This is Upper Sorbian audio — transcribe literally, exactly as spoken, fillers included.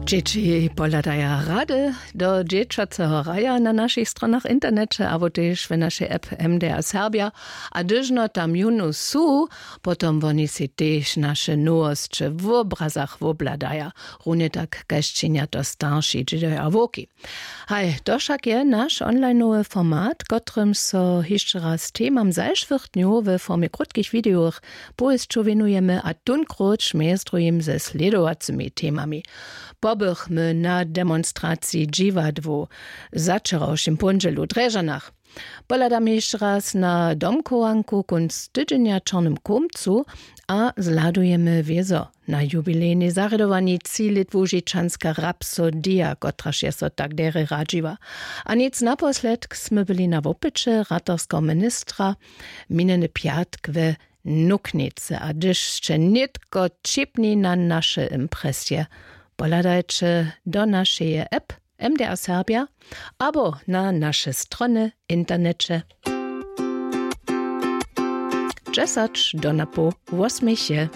Dźěći pohledaja rady do dźěćaceho raja na našich stronach w interneće abo tež w našej app M D R Serbja. A hdyžno tam jónu su, potom woni sej tež naše nowosće w wobrazach wobhladaja, runje tak kaž činja to starši dźědoja a wowki. Haj, to wšak je naš onlinowy format, kotrymž so hišće raz temam zašłych dnjow we formje krótkich widejowych powěsćow wěnujemy, a tónkrótš mjez druhim ze slědowacymi temami: pobychmy na demonstraciji dźiwadłow w začerawšim póndźelu w Drježdźanach, pohladamy hišće raz na domchowanku kónc tydźenja w Čornym Chołmcu a zhladujemy wězo na jubilejnej zarjadowani tři lět łužičanska Rhapsodija, kotraž je so tak derje radźiła. A nic naposledk smy byli na wopyće ratarskeho ministra minjeny pjatk we Nuknicy. A hdyž sće nětko ćěpni na naše impresje, pohladajće do našeje app M D R Serbja abo na naše strony w interneće. Dźesać do napoł wosmich je.